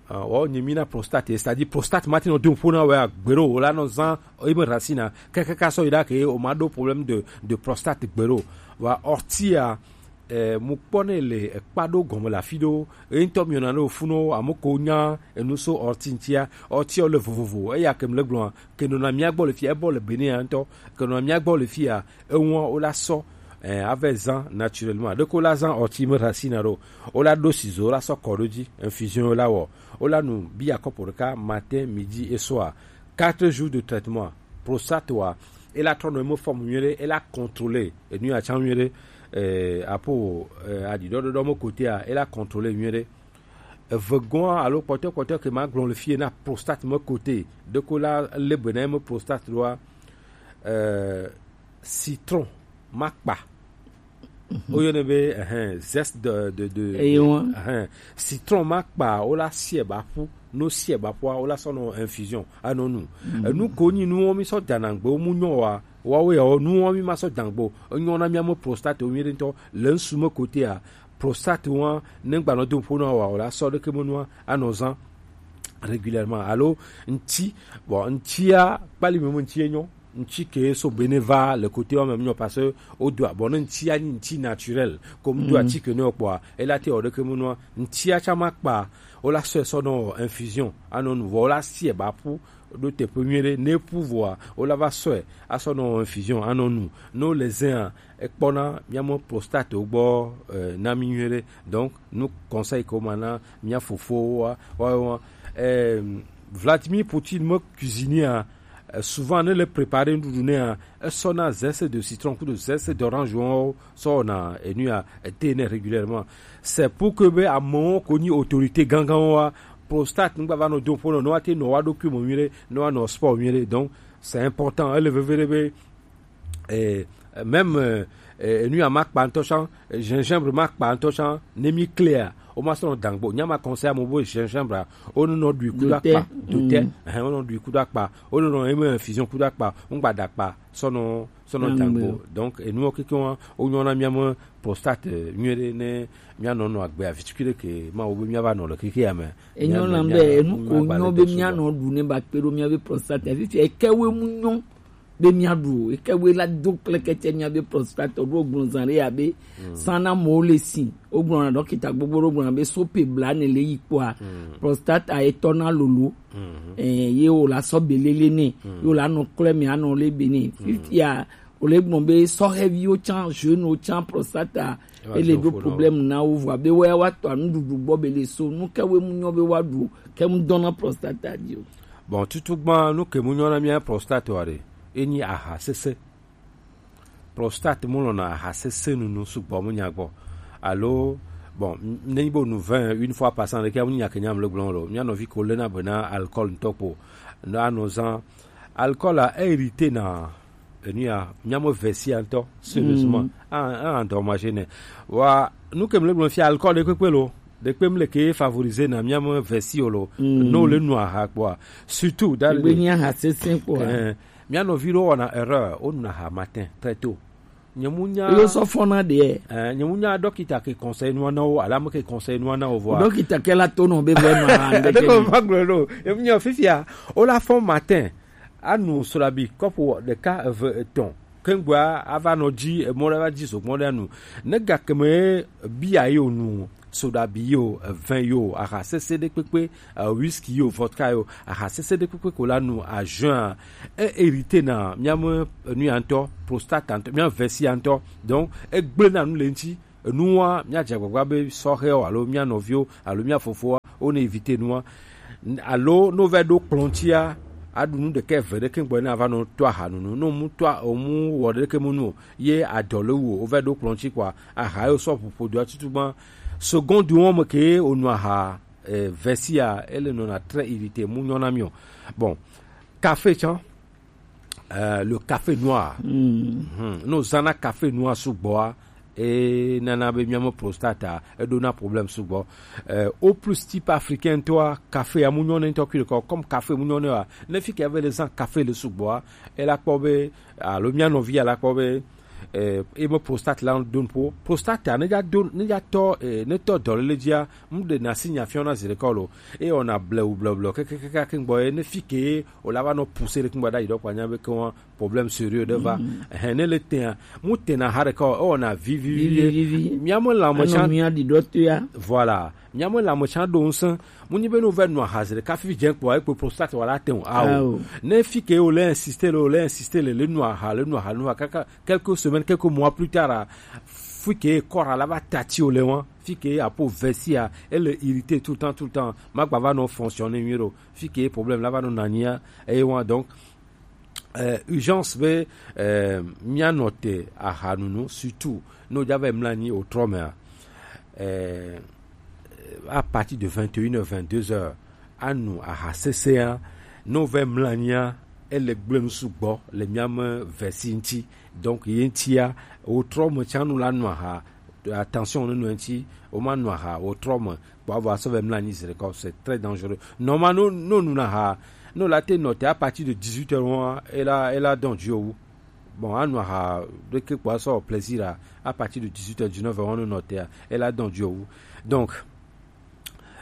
ah, wa o nye mi na prostate, c'est-à-dire prostate ma ti nɔ do ƒo na wa gbe ɖo o la nɔ zan o me racine a kekeke sɔ yi ɖa ke o ma ɖo problème de de prostate gbe ɖo. Wa ortie a eh, mu kpɔ ne le ekpa ɖo gɔme le afi ɖo. Eyi ŋutɔ miɔna ne wofu no ame ko nya enu so ortie ŋutia. Ortie le vovovo eya ke mle gblɔa ke nɔna mia gbɔ le fia ebɔ le Benin ya ŋutɔ ke nɔna mia gbɔ le fia eŋua wo la sɔ eh, ave zan naturellement ɖeko la zan ortie me racine ɖo. Wo la ɖo sizo la sɔ kɔ ɖo dzi infusion la wɔ. Wo la nu biya kɔpo ɖeka matin midi et soir. Quatre jours de traitement. Prostate wa e la trɔ nɔ eme fɔm nyuie ɖe e la contrôler enu ya tsã nyuie ɖe eh, apo eh, aɖiɖɔɖɔɖɔ me kotea e la contrôler nyuie ɖe. Eve gɔa alo kpɔtɔ kpɔtɔ ke ma gblɔ le fie na prostate me kote ɖeko la le be na eme prostate ɖoa eh, citron ma kpa. Woyɔnɛ be eh, zeste de, de, de, eye ŋua eh, citron ma kpa wo la sie ba ƒu no sie ba ƒua wo la sɔ nɔ infusion anɔ nu. Enu ko nyi nuwo mi sɔ dana gbe wo mu nyɔ wa wawo ya wo nuwo mi ma sɔ dan gbe o. Enyɔ na mi ame prostate wo mi ɖe ŋutɔ le ŋsu me kotea prostate wa ne gbanɔ do ƒo na wa o la sɔ ɖeke me nua anɔ zan régulièrement alo ŋti. Bon, ŋtia kpali me me ŋti enyɔ ŋti ke so bene va le kote wa me nyɔ parce que o do abɔ ne ŋtia ni ŋti naturel comme do atike ne kpɔa ela te o ɖeke me nua ŋtia tsa ma kpa o la sɔe sɔ nɔ infusion anɔ nu vɔ o la sie ba ƒu ɖo teƒe nyuie ɖe ne ƒu vɔa o la va sɔe asɔ nɔ infusion anɔ nu ne o le zɛa ekpɔna miame prostate wo gbɔ eh, na mi nyuie ɖe. Donc nu conseil ko ma na mia fofowo wa wa wa eh, Vladimir Poutine me cuisinier a eh, souvent ne le préparer nuɖuɖu nea esɔna zeste de citron kudo zeste d'orange wo sɔ na enu ya ete ne régulièrement. C'est pour que be amewo ko nyi autorité gangan wa prostate ŋgba va nɔ do ƒo nɔ ne wa te nɔ wa ɖokui me nyuie ɖe ne wa nɔ sport nyuie ɖe. Donc c'est important ele veve ɖe be eh, même euh, eh, enu ya ma kpa ŋutɔ tsã, eh, gingembre ma kpa ŋutɔ tsã, ne mi klea, o ma sɔ nɔ dangbo. Nya ma conseil amewo be gingembre a, o nɔ ɖui kudo akpa, do te, mm, ɛhɛn, o nɔ ɖui kudo akpa, o nɔ nɔ eme infusion kudo akpa, ŋgba da akpa, sɔ nɔ, sɔ nɔ dangbo. Donc, enuwo kekeŋ wa, o nyɔ na mia me prostate, eh, nyuie ɖe ne mia nɔ nɔ agbe avi tukui ɖe ke ma wo be mia va nɔ le keke ya me. Enyo lam be enu ko nyɔ be mia nɔ ɖu ne ba kpe ɖo mia be prostate. Fifi eke we mu nyɔ be mia ɖu o. Eke we la do klekete mia be prostate ɖo gblɔ zan ɖe ya be sana mo le si. O gblɔ na dɔkita gbogbo ɖo gblɔ na be sope bla ne le yi kpɔa. Prostate a etɔ na lolo. Eh, ye o la sɔ be lele ne. Ye o la nɔ klɛ me anɔ le be ne. Fifi ya o le gbɔn be sɔhɛviwo tsã, jeunewo tsã, prostata, ele ɖo problème na wo vɔa be woya wa tɔ nuɖuɖu gbɔ be le so nu ke we mu nyɔ be wa ɖu ke mu dɔna prostata di o. Bon, tutu gbã nu ke mu nyɔ na mia prostate wa ɖe, enyi aha sese. Prostate mu lɔna aha sese nunu sugbɔ mu nya gbɔ. Alo, bon, ne nyi bo nu vin une fois par cent ɖe ke mu nya ke nyam le gblɔ lo. Mia nɔvi ko le na be na alcool ŋutɔ kpo. Na no zan alcool a e irrité na enu ya, mia me vɛsi ya ŋutɔ, sérieusement. Mm. A, a endommagé nɛ. Wa, nu ke mle gblɔ fia, alcool ɖe kpekpe lo. Ɖe kpe mle ke favoriser na mia me vɛsi o lo. Mm. No le nu aha kpɔa. Surtout, dans le. Egbe nya ha sese kpɔa. Eh, mia nɔvi ɖo wɔna erreur, o nu aha matin, très tôt. Nye mu nya. Yo sɔ fɔna de. Eh, nye mu nya dɔkita ke conseil nua na wo, ala me ke conseil nua na wo vɔa. Dɔkita ke la to no be vɛ no ha. Ɖe ko va gblɔ ɖo. Nye mu nya fifia, o la fɔ matin. Anu soɖabi kɔpu ɖeka, eve, etɔ̃. Kengboa ava nɔ dzi, emɔ ɖe va dzi zogbɔn ɖe anu. Ne gake me bia yi o nu, soɖabi yi o, evin yi o, aha sese ɖe kpekpe, eh, whisky yi o, vodka yi o, aha sese ɖe kpekpe ko la nu à jeun a, e hérité na mia me enu ya ŋutɔ, prostate ŋutɔ, mia vɛsi ya ŋutɔ. Donc, egblẽ na nu le ŋuti. Enua, míadze agbagba be sɔhɛwo alo mía nɔviwo alo mía fofowo, wo ne éviter nua. N-, alo ne wova ɖo kplɔ̃ ŋutia, aɖu nu ɖeka eve ɖeke gbɔ ne ava nɔ to ahanunu. Ne womu to a-, womu wɔ ɖeke mu nu o, ye adɔ le wu o, wova ɖo kplɔ̃ ŋuti kpɔa, aha yewo sɔ ƒoƒo doa tutu gbã. Seconde wo me ke wonu aha, eh, vesia, ele nɔna très irrité, mu nyɔna mi o. Bon, café tsã, euh, le café noir. Mhm. Ne wozãna café noir sugbɔa, e nana be mía me prostate a, eɖona problème sugbɔ. Euh, au plus type africain ŋutɔa, café a mu nyɔ ne ŋutɔ kui ɖekɔ. Comme café mu nyɔ ne wa, ne fi ke ave le zã café le sugbɔa, ela kpɔ be, alo mía nɔvi ya la kpɔ be, eh, e me prostate la do nuƒo. Prostate a ne dza do, ne dza tɔ, eh, ne tɔ dɔléle dzia, mu ɖe na si nya fiɔ na zi ɖeka o lo. E wɔna blewu blewu blewu kekekeke ke gbɔ ye ne fi ke o la va nɔ pousser ɖe kungba ɖa yi ɖɔ kpa nya be ke wa problème sérieux ɖe va. Mhm. Ehɛn, ne le tea, mu tena ha ɖeka o, e wɔna vi vi vi. Vi, vi, vi, vi. Mía me lãme tsã. Anɔ mía ɖi ɖɔ to ya. Voilà. Mía me lãme tsã ɖo ŋusẽ. Mu nyi be ne wova nu aha zi ɖeka fifi dze kpɔa, ekpe prostate wa la te o. Ao. Ao. Ne fi ke o le insister le, o le insister le, le nu aha, le nu aha, le nu aha, kaka quelques semaines, quelques mois plus tard, a, fi ke kɔra la va tati o le wa, fi ke apo vesia, ele irrité tout le temps, tout le temps, ma gba va nɔ fonctionner mieux ɖo, fi ke problème la va nɔ nania, et wa, donc, euh, urgence be, euh, mía nɔ te ahanunu, surtout, ne wodza va mla anyi o trɔ mea, euh, à partir de vingt et une heures, vingt-deux heures, anu aha sesẽa, ne wova mla anyia, ele gblẽ nu sugbɔ le mía me vesi ŋuti. Donc, ye ŋutia, o trɔ me tsã nu la nu aha, attention ne nu ŋuti, o ma nu aha, o trɔ me, kpɔ avɔ asɔ va mla anyi zi ɖeka, c'est très dangereux. Normalement, no, no nu na aha, no la te nɔ te à partir de dix-huit heures, wa, ela, ela dɔn dzi o wu. Bon, anu aha ɖeke kpɔ asɔ plaisir a, à partir de dix-huit heures, dix-neuf heures, wa no nɔ te a, ela dɔn dzi o wu. Donc,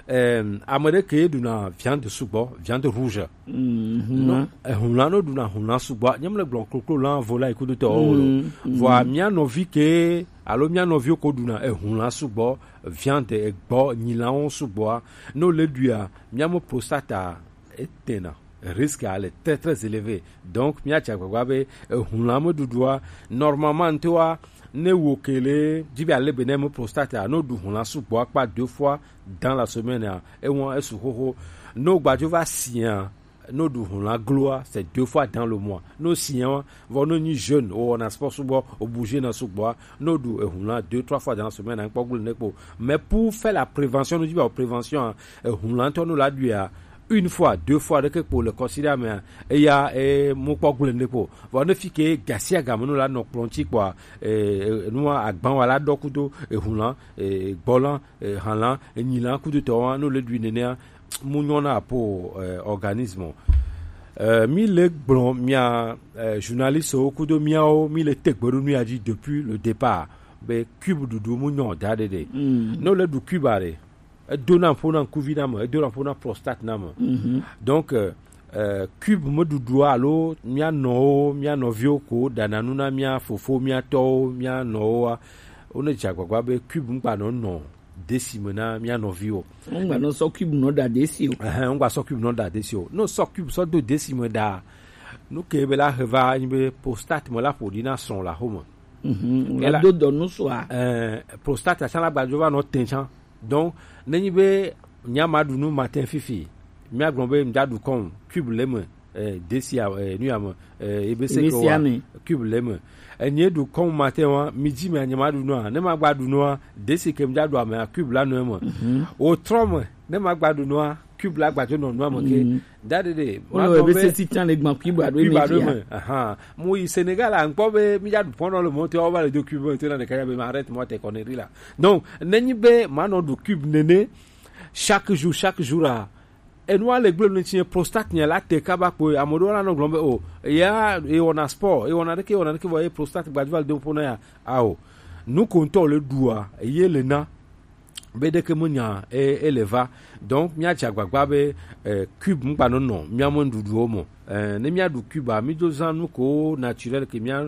euh, ame ɖe ke ɖuna viande sugbɔ, viande rouge. Mm, non, ehulã no ɖuna hulã sugbɔ. Nye mle gblɔ koklo lã, volayi kudo tɔ o lo. Mm, mm. Vɔa mía nɔvi ke, alo mía nɔviwo ko ɖuna ehulã sugbɔ, viande, egbɔ, nyilãwo sugbɔa. No le ɖuia, mía me prostate a, etena. Risque a le très, très élevé. Donc, mía dze agbagba be, ehulã me ɖuɖua, normalement, ŋutɔa, ne wo ke le, dzi be ale be ne me prostate a, no ɖu hulã sugbɔ akpa deux fois dans la semaine a, ewa esu xoxo. No gbadzo va sia, no ɖu hulã gloa, c'est deux fois dans le mois. No sia, vɔ no nyi jeune, o wɔna sport sugbɔ, o bouger na sugbɔa, no ɖu ehulã deux, trois fois dans la semaine, a kpɔ gble ne kpo. Mais pour faire la prévention, no dzi be o prévention a, ehulã ŋutɔ no la ɖuia, une fois, deux fois ɖeke kpo le kɔsiɖa mea, eya e mu kpɔ gblẽ ɖe kpo. Vɔ ne fi ke gasiagame nu la nɔ kplɔ̃ ŋuti kpɔa, e, e, nua agban wa la ɖɔ kudo ehun la, e, gbɔ la, e, han la, enyi la kudo tɔ wa, no le ɖui nenea, mu nyɔ na po, e, organisme. E, mi le gblɔ mia, e, journaliste wo kudo miawo, mi le tegbe ɖo nu ya dzi depuis le départ. Be cube ɖuɖu mu nyɔ da ɖe ɖe. Mm. No le ɖu cube a ɖe, edona ƒo na ŋkuvi na me, edona ƒo na prostate na me. Mhm. Donc, euh, euh, cube meɖuɖua alo mía nɔwo, mía nɔviwo ko ɖana nu na mía fofo, mía tɔwo, mía nɔwoa, wone dze agbagba be cube ŋgba nɔ nɔ desi me na mía nɔviwo. Ŋgba nɔ sɔ cube nɔ ɖa desi o. Ɛhɛn, ŋgba sɔ cube nɔ ɖa desi o. No sɔ cube sɔ do desi me ɖa, nu ke be la he va nyi be prostate me la ƒo ɖi na srɔ̃ le axome. Mhm, ela do dɔ nu sua. Eh, prostate tsã la gbadzo va nɔ tɛn tsã. Donc, nenyi be mía ma ɖu nu matin fifi, mía gblɔ be mía ɖu kɔn cube le me, eh, desi a, eh, nu ya me, eh, ebe se ke wa cube le me. Enye ɖu kɔn matin wa, midi me anye ma ɖu nua, ne ma gba ɖu nua, desi ke mía ɖu ame a cube la nɔ eme. Mhm. O trɔ me, ne ma gba ɖu nua, cube la gbadzo nɔ nua me ke. Mhm. Da ɖe ɖe. Wole be sesi tsã le gban cube aɖo eme. Cube aɖo eme. Aha. Mu yi Sénégal a, ŋkpɔ be mi ya ɖu pɔnɔ le mɔte, wa va le do cube me, te na ɖeka ya be ma arrête mɔte connerie la. Donc, nenyi be ma nɔ ɖu cube nene, chaque jour, chaque jour a, enua le gblẽ ne tsi prostate nya la te kaba kpo, ame ɖewo la nɔ gblɔm be, o, ya, e wɔna sport, e wɔna ɖeke, e wɔna ɖeke, vɔ ye prostate gbadzo va le do ƒo na ya. Ao. Nu ko ŋutɔ le ɖua, ye le na. Be ɖeke menya e, ele va. Donc, míadze agbagba be, eh, cube ŋgba nɔ nɔ mía me nuɖuɖuwo me. Eh, ne míaɖu cube a, mídzo zã nu ko naturel ke mía,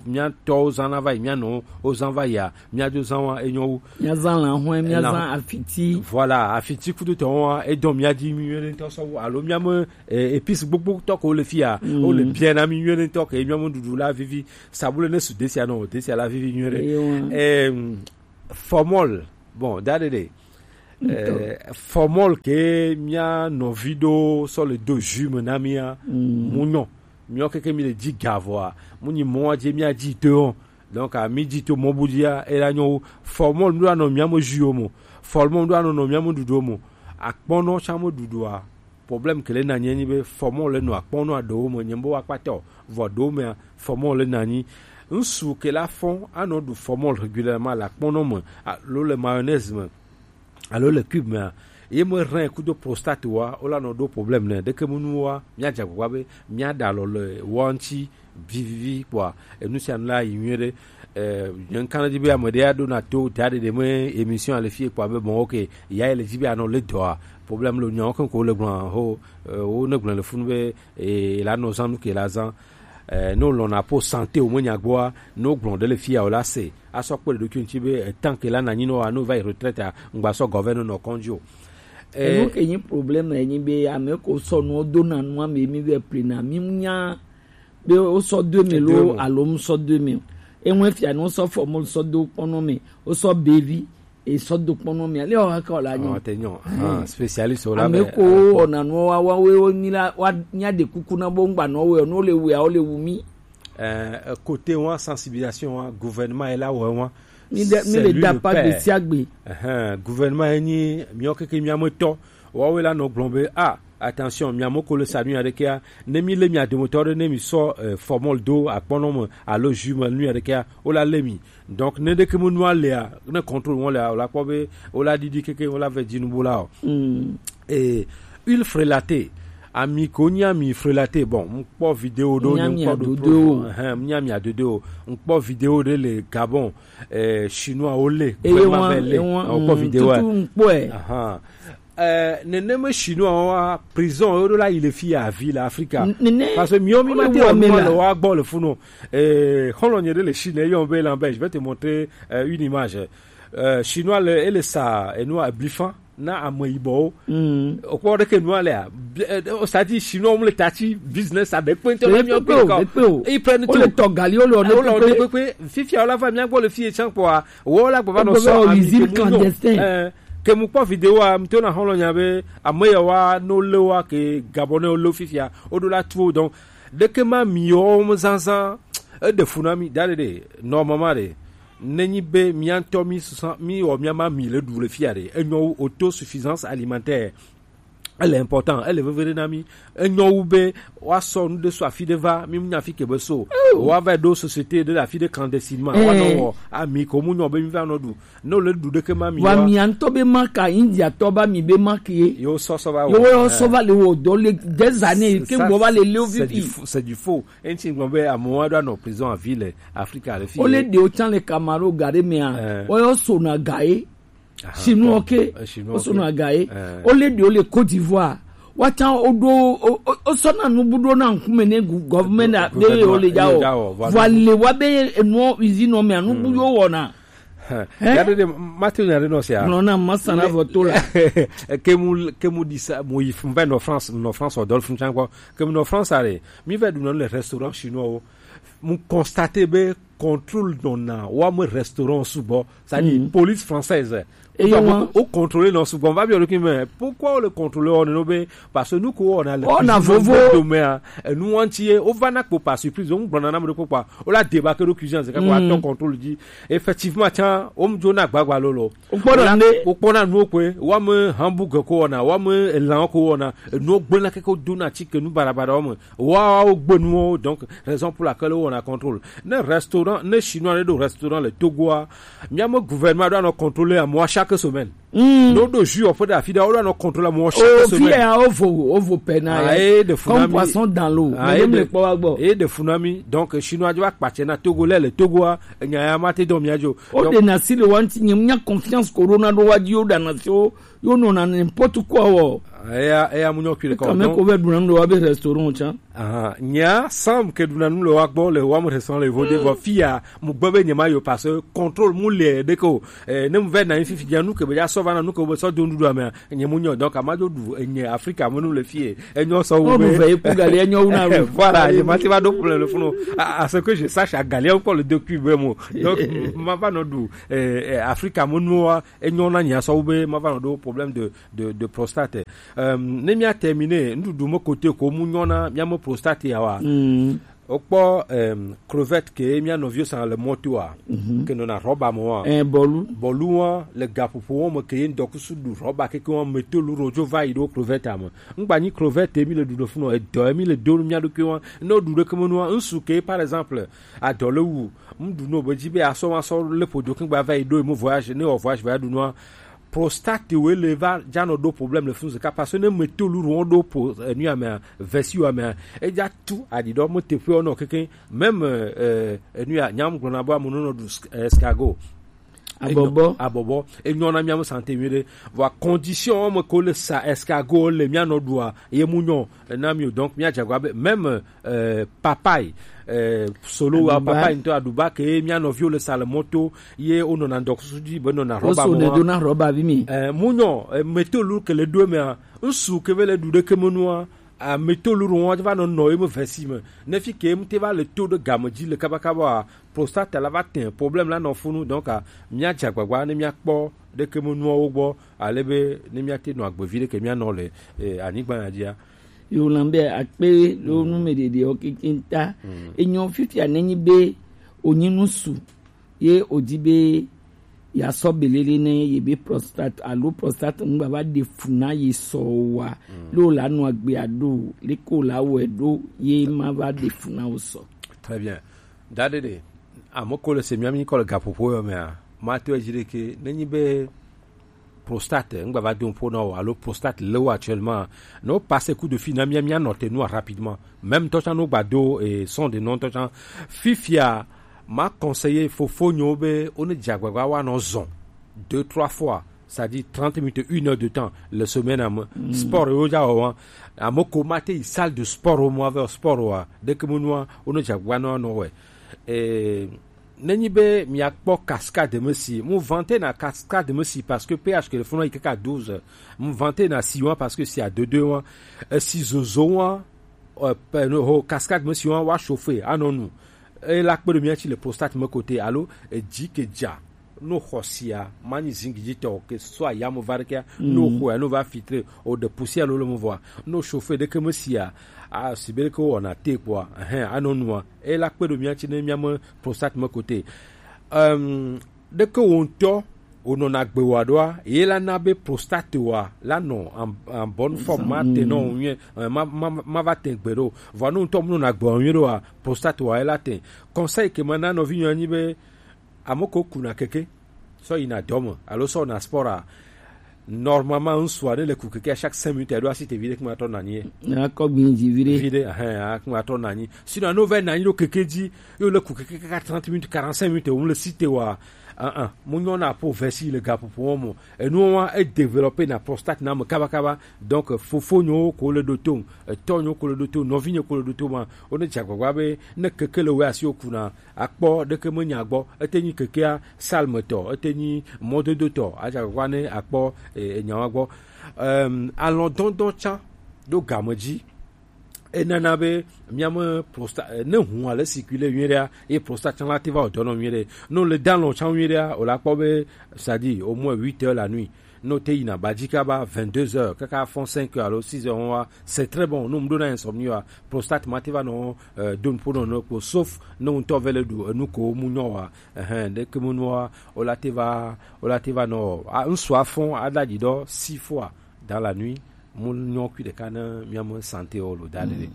mía tɔwo zã na va yi, mía nɔwo zã va yia, míadzo zã wa enyo wu. Míazã lãhɔe, míazã afiti. Voilà, afiti kudo tɔwo wa, edɔ mía dzi nyuie ŋutɔ sɔ wu. Alo mía me, eh, épices gbogbo tɔ ko le fia, mm, wo le bien na mi nyuie ŋutɔ ke mía me nuɖuɖu la vivi. Sabule ne su desia nɔ, desia la vivi nyuie ɖe. Eye wa. Em, formol, bon, da ɖe ɖe. Ŋutɔ. Eh, formol ke mía nɔvi ɖo sɔ le do jus me na mía, mm, mu nyɔ. Míɔ keke mi le dzi ga vɔa, mu nyi mɔ dzi mía dzi to. Donc, a mi dzi to mɔ bu dzia, e la nyɔ wu. Formol nu anɔ mía me jus wo mo. Formol nu anɔ nɔ mía me ɖuɖu mo. Akpɔnɔ tsã me ɖuɖua. Problème ke le na nye nyi be formol le nɔ akpɔnɔ aɖewo me nye be wa kpata o. Vɔ ɖewo mea, formol le na nyi. Ŋsu ke la fɔn anɔ ɖu formol régulièrement le akpɔnɔ me alo le mayonnaise me alo le cube mea, ye me rein kudo prostate wa, wo la nɔ ɖo problème ne. Ɖeke mu nu wa, mía dze agbagba be mía ɖa alɔ le wa ŋuti vivivi kpɔa, enu sia nu la yi nyuie ɖe. Eh, nye ŋkana dzi be ame ɖe aɖo na to da ɖe ɖe me émission ale fie kpɔa be bon, ok, ya ele dzi be anɔ le dɔa, problème le nyawo keŋ ko le gblɔ ho, eh, wo ne gblɔ le funu be, eh, la nɔ zã nu ke la zã. Eh, ne wolɔna po santé wo menya gbɔa, ne wogblɔ ɖe le fia o la se. Asɔ kpe ɖe ɖokui ŋuti be, eh, tant que la na nyi nɔ wa, ne wova yi retraite a, ŋgba sɔ gɔvɛ nɔ nɔ kɔndzi o. Eh, enu ke nyi problème enyi be ame ko sɔ nuwo do na nua me mi vɛ plena, mi nya be wo sɔ do me lo alo mu sɔ do me o. Eŋu fia ne wo sɔ formol sɔ do kpɔnɔ me, wo sɔ bevi, e sɔ do kpɔnɔ me. Ale o haka o la nyo. Te nyo. Ah, spécialiste o la. Ame ko wɔna nuwo wa, wa, we, wo mi la, wa, nya de kuku na bo ŋgba nɔ we, no le we, o le wu mi. Eh, côté wa sensibilisation wa, gouvernement est là, ouais, wa. Mi de, mi le da pa de siagbe. Gouvernement enyi, miɔ keke miametɔ. Wawe la nɔ gblɔ be, ah, attention, miamɔ ko le sa nu ya ɖekea, ne mi le mia dometɔ ɖe, ne mi sɔ, eh, formol do akpɔnɔ me, alo jus me nu ya ɖekea, o la le mi. Donc, ne ɖeke me nua lea, ne contrôle wɔn lea, o la kpɔ be, o la ɖiɖi keke, o la vɛ dzi nubo la o. Mm. Eh, huile frelatée, ami ko nyi ami frelatée, bon, ŋkpɔ vidéo ɖo, ŋkpɔ ɖo pro, ɛhɛn, nyi ami adodo, ŋkpɔ vidéo ɖe le Gabon, eh, chinois wo le, eye wa, le, ŋkpɔ vidéo, tutu ŋkpɔe. Ahan. Eh, nenema chinois wa prison yo ɖo la yi le fi ya vi le Afrika. Parce que miwo mi ma te wa gbɔ le funu. Eh, xɔlɔ nye ɖe le Chine, eyɔn be Lambert, je vais te montrer, euh, une image. Euh, chinois le, ele sa, enu ablifan na ame yibɔwo. Mm. Okpɔ ɖeke nua lea, bi-, eh, o sa di chinois wo le tati business a ɖe kpe ŋutɔ na miwo kpe o. Ils prennent tout. Wo le tɔ gali, wo le ɔne kpekpe. Fifia wo la va mia gbɔ le fi ye tsã kpɔa, wo la gbɔ va nɔ sɔ ami ke mu nyo. Eh, ke mu kpɔ vidéo a, mto na xɔlɔ nya be, ame ya wa no le wa ke Gabonais wo le fifia, o ɖo la tuo. Donc, ɖeke ma mi yo mo zanzan, e ɖe fu na mi, da ɖe ɖe, normalement ɖe, nenyi be mia ŋutɔ mi susan, mi wɔ mia ma mi le ɖu le fia ɖe, enyɔ wu autosuffisance alimentaire. Elle est important, elle est vevere na mi. Enyo wu be wa sɔ nu de so afi de va, mi nya fi ke be so. Wa va do société de la fi de clandestinement. Wa no wo ami ko mu nyo be mi va no du. No le du de ke ma mi wa. Wa mi anto be marque à India to ba mi be marque ye. Yo so so va. Yo wo so va le wo do le des années ke ngbo va le le o vivi. C'est du faux. Enti ngbo be amo wa do no prison à ville Afrique à le fi. O le de o chan le Cameroun gare me a. O yo so na gae. Chinois ke, o so na gae. O le de o le Côte d'Ivoire. Wa chan o do o so na nu bu do na nkume ne government de o le ja o. Voilà wa be no usine o me anu bu yo wo na. Ya de mate na de no se a. No na masana voto la. Ke mu ke mu di sa mo yi fun be no France, no France o dol fun chan ko. Ke mu no France are. Mi ve du no le restaurant chinois o. Mu constate be contrôle nɔ na wa me restaurant sugbɔ, c'est-à-dire police française. Et donc, on contrôle non sugbɔ. On va bien le mais pourquoi on le contrôle on est nommé? Parce que nous on a le on a vovo domaine. Nous on tient on va n'a pas surprise on prend un de quoi on la débarqué le cuisine c'est quoi ton contrôle dit effectivement tiens on me donne à gbagba lolo. O kpɔna nu o kpe wa me hamburg ko wɔna wa me elan ko wɔna enu o gbena keke o dona ti ke nu barabara wa me wa o gbenu o donc raison pour laquelle o wɔna contrôle ne restaurant ne chinois ne do restaurant le Togo a mia me gouvernement do anɔ contrôler à moi chaque semaine. No do ju o pe da fi da o do anɔ contrôler à moi chaque semaine. O vi a o vo o vo pena ye comme poisson dans l'eau. Mais le kpɔ wa gbɔ. Et de funami donc chinois jo akpatse na Togo le le Togo a nya ya ma te dɔn mia jo. O de na si le wanti nye nya confiance corona do wa di o da na si o yo no na n'importe quoi wo. Eya eya mu nyɔ kiri kɔ. Kame ko be duna ndo wa be restaurant cha. Aha nya sam ke duna nu le wa gbɔ le wa mu restaurant le vo de vo fia mu gbɔ be nyema yo parce que contrôle mu le de ko. Eh, ne mu ve na fifi nya nu ke be ya so va na nu ke be so do ndu do ame nye mu nyɔ donc ama jo du nye Africa mu nu le fie. Enyo so wo be. Ve pour galer enyo una. Voilà, je m'en va donc pour le fond. À ce que je sache à galer encore le deux cubes mo. Donc ma va no du eh, eh, Africa mo no enyo na nya so be ma va no do problème de de de prostate. Euh, ne mi a terminer ndudu mo côté ko mu nyo na mi a mo prostate ya wa. O kpɔ eh, crevette ke mi a no vieux sans le moto a. Ke no na roba mo a. Eh bolu. Bolu a le gapopo mo ke ndo kusu du roba ke ko meto lu rojo va ido crevette a mo. Ngba ni crevette mi le du do funo e do mi le do mi a do ke wa. No du do ke mo no nsu ke par exemple a do le wu. Mɖu no be dzi be asɔ masɔ le ƒodo kengba va yi ɖo emo voyage ne wɔ voyage va ɖu nua prostate wo le va dza nɔ ɖo problème le funu zeka parce que ne me to luru wɔn ɖo po enu ya mea vesi wa mea edza tu aɖi ɖɔ mo teƒe wɔn keke même euh, enu ya nyam gblɔna be ame nɔ ɖu escargot. Abɔbɔ. Abɔbɔ enyɔ na miamu santé mi ɖe vɔ condition me ko le sa escargot le mia nɔ ɖua ye mu nyɔ na mi o donc mia dze agua be même euh, papaye euh, solo wa papaye ŋutɔ aɖuba ke mia nɔviwo le sa le mɔto ye wonɔna ŋdɔkusu dzi be nɔna rɔba mɔa dona rɔba vi mi euh, munyɔ euh, metolu ke le ɖo emea ŋsu ke ve le ɖu ɖeke menua a metolu ɖo wɔn va nɔ nɔ ye me vesi me ne fi ke mu te va le to ɖe game dzi le kabakaba prostate la va te problème la nɔ funu donc mia dze agbagba ne mia kpɔ ɖeke menuawo gbɔ ale be ne mia te nɔ agbevi ɖeke mia nɔ le eh, anyigba ya dzia Yo na be akpe ɖo nu me ɖeɖe o keke ta. Enyo fifia nenyi be onyi nu su ye odi be ya sɔ belele ne ye be prostate alo prostate ŋgba va ɖe fu na ye sɔ wa lo la nu agbe aɖo le ko la wɛ ɖo ye ma va ɖe fu na wo sɔ. Très bien. Daɖeɖe ame ko le se mia mi kɔ le gaƒoƒo yɔ mea ma to edzi ɖeke nenyi be prostate ŋgba va do ƒo na o alo prostate le wo actuellement ne wo passe coup de fil na mia mia nɔ te nua rapidement même tɔtsa no gba do et son de non tɔtsa fifia ma conseiller fofo nyo be o ne dze agbagba wa nɔ zɔn deux trois fois c'est-à-dire trente minutes une heure de temps le semaine ame sport yo dza wɔwɔn ame ko ma te yi salle de sport o mo ave sport wa ɖeke mo nua o ne dze agbagba nɔ nɔ wɛ et nenyi be miakpɔ cascade me si mu vante na cascade me si parce que ph ke le funu yi kaka douze mu vante na si wa parce que si a deux deux wa esi zozo wa euh, ho cascade me si wa wa chauffer anɔ nu e la kpe ɖo mia tsi le prostate me kote alo edzi ke dza no xɔ sia manyi zingi dzi tɔ ke so ayamo va ɖekea no xɔa no va filtre o de poussière lolo mo vɔa no chauffer ɖeke me sia a si be ɖeke wɔna te kpɔa ɛhɛn anɔ nua e la kpe ɖo mia tsi ne mia me prostate me kote um, ɖeke wo ŋutɔ Wonɔna gbe wa ɖoa, ye la na be prostate wa la nɔ en, en bonne forme, ma te nɔ nyuie, eh, ma, ma, ma va te gbe ɖo. Vɔ nu ŋutɔ mu nɔna gbe wa nyuie ɖoa, prostate wa ye la te. Conseil ke ma na nɔvi nyɔ nyi be, ame ko kuna keke, sɔ yina dɔ me, alo sɔ na sport a, normalement, ŋsua ne le ku keke à chaque cinq minutes, elle doit citer vide kuma tɔ nanyi. Akɔ gbin dzi vi ɖe. Vide, hein, kuma tɔ nanyi. Sinon, no ve nanyi ɖo keke dzi, yo le ku keke kaka trente minutes, quarante-cinq minutes, on le cite wa. Ah, ah, mu nyɔ na po vesi le gaƒoƒo mo. Enu wa e développer na prostate na me kaba kaba. Donc, fofo nyo ko le do to, etɔ nyo ko le do to, nɔvi nyo ko le do to ma. O ne dzagbagba be ne keke le we asi o kuna, akpɔ ɖeke me nya gbɔ. Ete nyi kekea salme tɔ, ete nyi mɔdodo tɔ. Adzagbagba ne akpɔ, eh, nyawa gbɔ. Em, alɔdɔdɔ tsa ɖo game dzi. Enana be miame prosta, eh, ne hun ale circuler nyuie ɖea, ye prosta tsa la te va o dɔnɔ nyuie ɖe. No le dan lɔ tsa nyuie ɖea, o la kpɔ be, c'est-à-dire au moins huit heures la nuit. No te yina badzi kaba vingt-deux heures, kaka fɔn cinq heures alo six heures wa, c'est très bon. No mu ɖo na insomnie wa, prostate ma te va nɔ, euh, don po nɔ nɔ kpo, sauf no ŋutɔ ve le ɖu enu ko mu nyɔ wa. Ehe, ɖeke mu nua, o la te va, o la te va nɔ, a, ŋsu afɔn, a da dzi dɔ six fois dans la nuit, mu nyɔ kui ɖeka ne miame santé o lo da ɖe.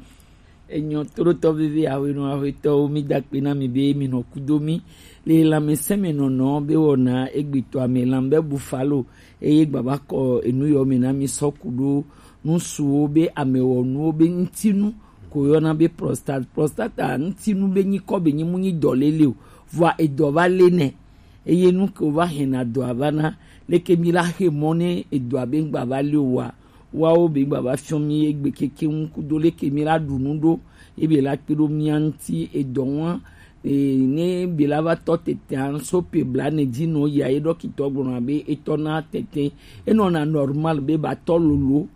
Enyɔ toɖotɔ veve awenɔ aƒetɔwo, mi da kpe na mi be mi nɔ kudo mi le lãmesẽ me nɔnɔ be wɔna egbetɔ ame lãme be bufalo eye gbava kɔ enu yɔ me na mi sɔ ku ɖo nusuwo be amewɔnuwo be ŋutinu ko yɔna be prostate. Prostata ŋutinu be nyikɔ be nyi mu nyi dɔ lele o, vɔa edɔ va le nɛ. Eye nu ke wova hɛna dɔa va na, leke mi la xe mɔ ne edɔa be ŋgba va li o wa, wawo be ŋgba va fiɔ mi egbe keke ŋu kudo leke mi la ɖu nu ɖo, ebe la kpe ɖo mia ŋuti edɔ ŋua. E, ne be la va tɔ tete an so pe bla ne dzi nɔ ya ye ɖɔkitɔ gblɔna be etɔ na tete, enɔna normal be ba tɔ lolo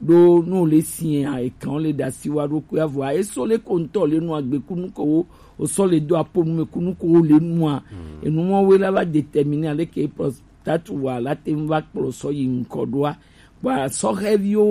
ɖo no le sia ekan le dasi wa ɖo kua vɔa eso le ko ŋutɔ le nu agbe kunu ko wo, o sɔ le do apo nu me kunu ko wo le nua. Enu mɔ we la va déterminer ale ke prostate wa la te ŋu va kplɔ sɔ yi ŋkɔ ɖoa. Bɔa sɔhɛviwo